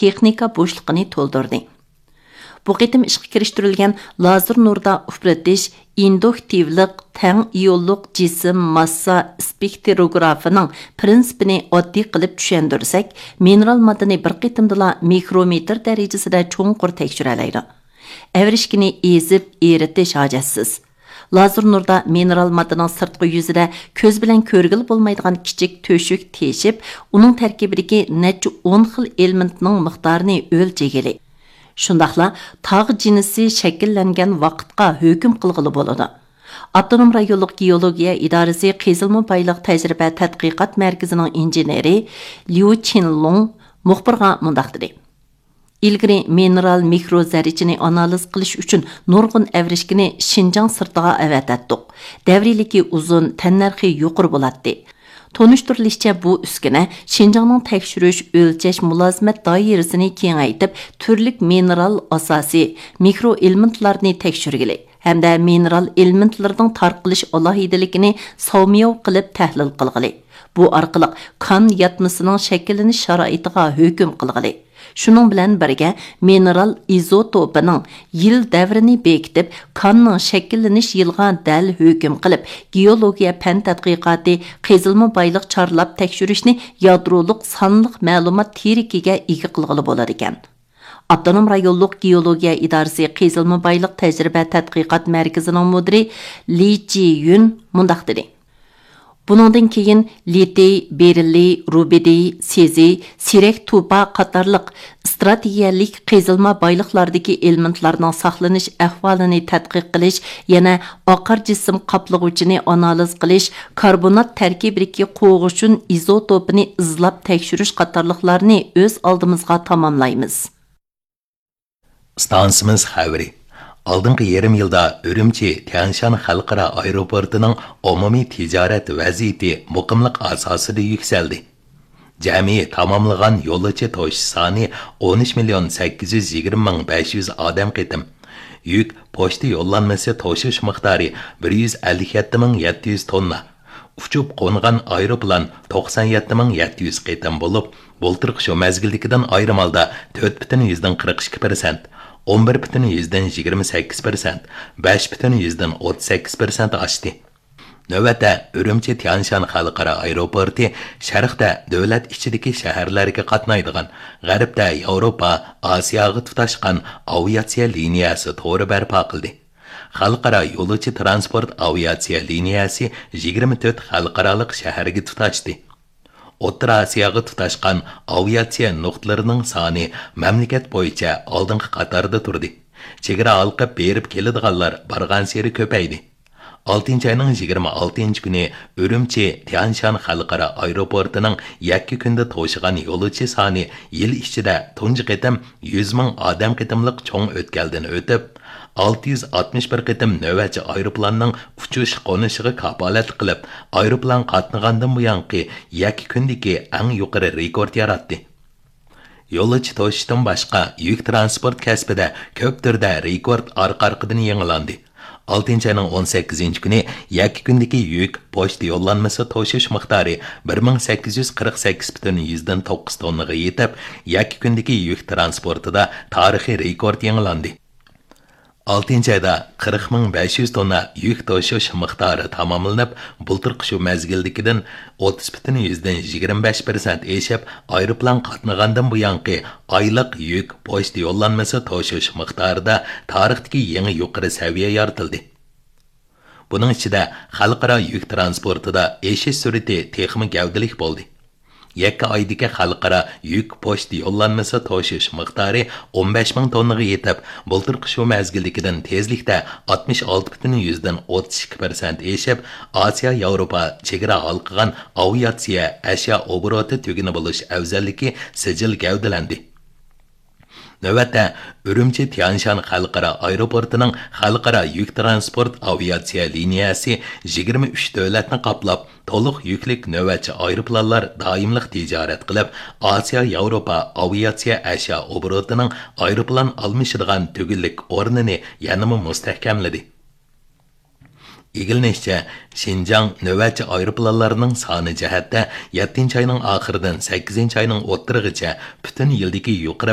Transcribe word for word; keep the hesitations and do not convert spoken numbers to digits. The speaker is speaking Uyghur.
تېخنىكا بوشلۇقىنى تولدۇردى. بۇ قېتىم ئىشقا كىرىشتۈرۈلگەن لازېر نۇردا ئۇپرىتىش، ئىندۇكتىۋلىق، تەڭ ئىيونلۇق جىسىم ماسسا سپېكتروگرافىنىڭ پىرىنسىپىنى ئاددىي قىلىپ چۈشەندۈرسەك، مىنېرال ماددىنى بىر قېتىمدىلا مىكرومېتىر دەرىجىسىدە چوڭقۇر تەكشۈرەلەيدۇ. ئەۋرىشكىنى ئېزىپ ئېرىتىش ھاجەتسىز. لازېر نۇردا مىنېرال ماددىنىڭ سىرتقى يۈزىدە كۆز بىلەن كۆرگىلى بولمايدىغان كىچىك تۆشۈك تېشىپ، ئۇنىڭ تەركىبىدىكى نەچچە ئون خىل ئېلېمېنتنىڭ مىقدارىنى ئۆلچىگىلى، شۇنداقلا تاغ جىنسى شەكىللەنگەن ۋاقىتقا ھۆكۈم قىلغىلى بولىدۇ. ئاپتونوم رايونلۇق گېئولوگىيە ئىدارىسى قېزىلما بايلىق تەجرىبە تەتقىقات مەركىزىنىڭ ئىنژېنېرى ليۇ چىنلۇڭ مۇخبىرغا مۇنداق دېدى: ئىلگىرى مىنېرال مىكرو زەررىچىنى ئانالىز قىلىش ئۈچۈن نۇرغۇن ئەۋرىشكىنى شىنجاڭ سىرتىغا ئەۋەتەتتۇق. دەۋرىيلىكى ئۇزۇن، تەننەرخى يۇقىرى بولاتتى. تونۇشتۇرۇلۇشىچە، بۇ ئۈسكۈنە شىنجاڭنىڭ تەكشۈرۈش، ئۆلچەش، مۇلازىمەت دائىرىسىنى كېڭەيتىپ، تۈرلۈك مىنېرال ئاساسى، مىكرو ئېلېمېنتلارنى تەكشۈرگىلى ھەمدە مىنېرال ئېلېمېنتلىرىنىڭ تارقىلىش ئالاھىدىلىكىنى ساۋمىياۋ قىلىپ تەھلىل قىلغىلى، بۇ ئارقىلىق كان ياتمىسىنىڭ شەكىللىنىش شارائىتىغا ھۆكۈم قىلغىلى، شۇنىڭ بىلەن بىرگە، مىنېرال ئىزوتوپىنىڭ يىل دەۋرىنى بېكىتىپ، كاننىڭ شەكىللىنىش يىلىغا دەل ھۆكۈم قىلىپ، گېئولوگىيە پەن تەتقىقاتى، قېزىلما بايلىق چارلاپ تەكشۈرۈشنى يادرولۇق سانلىق مەلۇمات تىرىكىگە ئىگە قىلغىلى بولىدىكەن. ئاپتونوم رايونلۇق گېئولوگىيە ئىدارىسى قېزىلما بايلىق تەجرىبە تەتقىقات مەركىزىنىڭ مۇدىرى لى جىيۈن مۇنداق دېدى: بۇنىڭدىن كېيىن لىتىي، بېرىللىي، رۇبىدىي، سېزى، سىرەك توپا قاتارلىق ئىستراتېگىيەلىك قېزىلما بايلىقلاردىكى ئېلېمېنتلارنىڭ ساقلىنىش ئەھۋالىنى تەتقىق قىلىش، يەنە ئاقار جىسىم قاپلىغۇچىنى ئانالىز قىلىش، كاربونات تەركىبىدىكى قوغۇشۇن ئىزوتوپىنى ئىزلاپ تەكشۈرۈش قاتارلىقلارنى ئۆز ئالدىمىزغا تاماملايمىز. ئىستانسىمىز خەۋىرى. ئالدىنقى يېرىم يىلدا ئۈرۈمچى تيەنشان خەلقئارا ئايروپورتىنىڭ ئومۇمىي تىجارەت ۋەزىيىتى مۇقىملىق ئاساسىدا يۈكسەلدى. جەمئىي تاماملىغان يولۇچى توشۇش سانى ئون ئۈچ مىليون سەككىز يۈز يىگىرمە مىڭ بەش يۈز ئادەم قېتىم، يۈك پوچتا يوللانمىسى توشۇش مىقدارى بىر يۈز ئەللىك يەتتە مىڭ يەتتە يۈز توننا، ئۇچۇپ قونغان ئايروپىلان توقسان يەتتە مىڭ يەتتە يۈز قېتىم بولۇپ، بۇلتۇرقى شۇ مەزگىلدىكىدىن ئايرىم ھالدا تۆت پۈتۈن يۈزدىن قىرىق ئىككى پىرسەنت، ئون بىر پۈتۈن يۈزدىن يىگىرمە سەككىز پىرسەنت، بەش پۈتۈن يۈزدىن ئوتتۇز سەككىز پىرسەنت ئاشتى. نۆۋەتتە، ئۈرۈمچى تيەنشان خەلقئارا ئايروپورتى شەرقتە دۆلەت ئىچىدىكى شەھەرلەرگە قاتنايدىغان، غەربتە ياۋروپا، ئاسىياغا تۇتاشقان ئاۋىئاتسىيە لىنىيەسى تورى بەرپا قىلدى. خەلقئارا يولۇچى تىرانسپورت ئاۋىئاتسىيە لىنىيەسى يىگىرمە تۆت خەلقئارالىق شەھەرگە تۇتاشتى. ئوتتۇرا ئاسىياغا تۇتاشقان ئاۋىئاتسىيە نۇقتىلىرىنىڭ سانى مەملىكەت بويىچە ئالدىنقى قاتاردا تۇردى. چېگرا ھالقىپ بېرىپ كېلىدىغانلار بارغانسېرى كۆپەيدى. ئالتىنچى ئاينىڭ يىگىرمە ئالتىنچى كۈنى ئۈرۈمچى تيەنشان خەلقئارا ئايروپورتىنىڭ يەككە كۈندە توشۇغان يولۇچى سانى يىل ئىچىدە تۇنجى قېتىم يۈز مىڭ ئادەم قېتىملىق چوڭ ئۆتكەلدىن ئۆتۈپ، ئالتە يۈز ئاتمىش بىر قېتىم نۆۋەتچى ئايروپىلاننىڭ ئۇچۇش قونۇشىغا كاپالەتلىك قىلىپ، ئايروپىلان قاتنىغاندىن بۇيانقى يەككە كۈندىكى ئەڭ يۇقىرى رېكورت ياراتتى. يولۇچى توشۇشتىن باشقا، يۈك تىرانسپورت كەسپىدە كۆپ تۈردە رېكورت ئارقا-ئارقىدىن يېڭىلاندى. ئالتىنچى ئاينىڭ ئون سەككىزىنچى كۈنى يەككە كۈندىكى يۈك پوچتا يوللانمىسى توشۇش مىقدارى بىر مىڭ سەككىز يۈز قىرىق سەككىز پۈتۈن يۈزدىن توققۇز توننىغا يېتىپ، يەككە كۈندىكى يۈك تىرانسپورتىدا تارىخىي رېكورت يېڭىلاندى. ئالتىنچى ئايدا قىرىق مىڭ بەش يۈز توننا يۈك توشۇش مىقدارى تاماملىنىپ، بۇلتۇرقى شۇ مەزگىلدىكىدىن ئوتتۇز پۈتۈن يۈزدىن يىگىرمە بەش پىرسەنت ئېشىپ، ئايروپىلان قاتنىغاندىن بۇيانقى ئايلىق يۈك پوچتا يوللانمىسى توشۇش مىقدارىدا تارىختىكى يېڭى يۇقىرى سەۋىيە يارىتىلدى. بۇنىڭ ئىچىدە خەلقئارا يۈك تىرانسپورتىدا ئېشىش سۈرئىتى تېخىمۇ گەۋدىلىك بولدى. يەككە ئايدىكى خەلقئارا يۈك پوچتا يوللانمىسى توشۇش مىقدارى ئون بەش مىڭ توننىغا يېتىپ، بۇلتۇرقى شۇ مەزگىلدىكىدىن تېزلىكتە ئاتمىش ئالتە پۈتۈن يۈزدىن ئوتتۇز ئىككى پىرسەنت ئېشىپ، ئاسىيا ياۋروپا چېگرا ھالقىغان ئاۋىئاتسىيە ئەشيا ئوبوروتى تۈگۈنى بولۇش ئەۋزەللىكى سىجىل گەۋدىلەندى. نۆۋەتتە، ئۈرۈمچى تيەنشان خەلقئارا ئايروپورتىنىڭ خەلقئارا يۈك تىرانسپورت ئاۋىئاتسىيە لىنىيەسى يىگىرمە ئۈچ دۆلەتنى قاپلاپ، تولۇق يۈكلۈك نۆۋەتچى ئايروپىلانلار دائىملىق تىجارەت قىلىپ، ئاسىيا ياۋروپا ئاۋىئاتسىيە ئەشيا ئوبوروتىنىڭ ئايروپىلان ئالمىشىدىغان تۈگۈنلۈك ئورنىنى يەنىمۇ مۇستەھكەملىدى. ئىگىلىنىشىچە، شىنجاڭ نۆۋەتچى ئايروپىلانلارنىڭ سانى جەھەتتە يەتتىنچى ئاينىڭ ئاخىرىدىن سەككىزىنچى ئاينىڭ ئوتتۇرىغىچە پۈتۈن يىلدىكى يۇقىرى